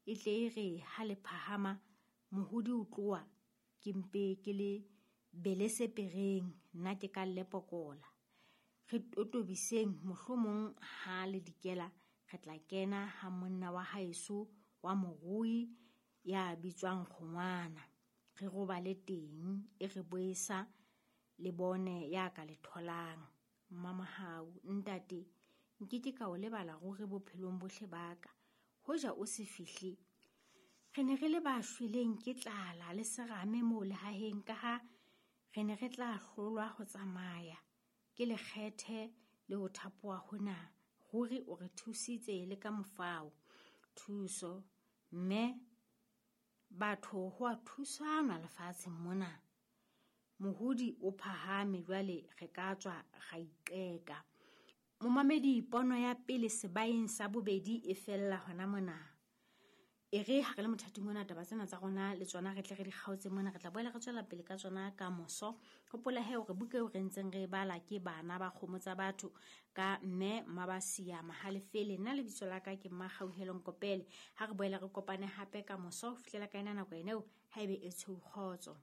E tle e re ha le phahama mohodi o tloha, ke mpe ke le belese pereng, nna ke ka lepokola. Re totobiseng mohlomong ha le dikela re tla kena ha monna wa haeso wa morui ya bitswang Kgongwana. Re robale teng e re boesa le bone ya ka le tholang. Mmamahau, ntate, nkeke ka o lebala ruri bophelong bohle ba ka. Hoja o se fihle, re ne re le ba shweleng ke tlala le serame moo lehaheng ka ha re ne re tla hlolwa ho tsamaya ke lekgethe le ho thapoha hona. Ruri o re thusitse le ka mofao. Thuso, mme batho ho a thusanwa lefatsheng mona. Mohodi o phahame jwale re ka tswa ra iqeka. Momamedi, pono ya pele sebaeng sa bobedi e fella hona mona. E re ha re le mothating ona taba tsena tsa rona le tsona re tle re di kgaotse mona, re tla boela re tswela pele ka tsona ka moso. Hopola he hore buka eo re ntseng re e bala ke Bana ba Kgomo tsa Batho ka mme Mmabasia Mahalefele. Nna lebitso la ka ke Mmakgauhelo Nkopele. Ha re boele re kopane hape ka moso ho fihlela ka ena nako ena eo, haebe e tshweu kgotso.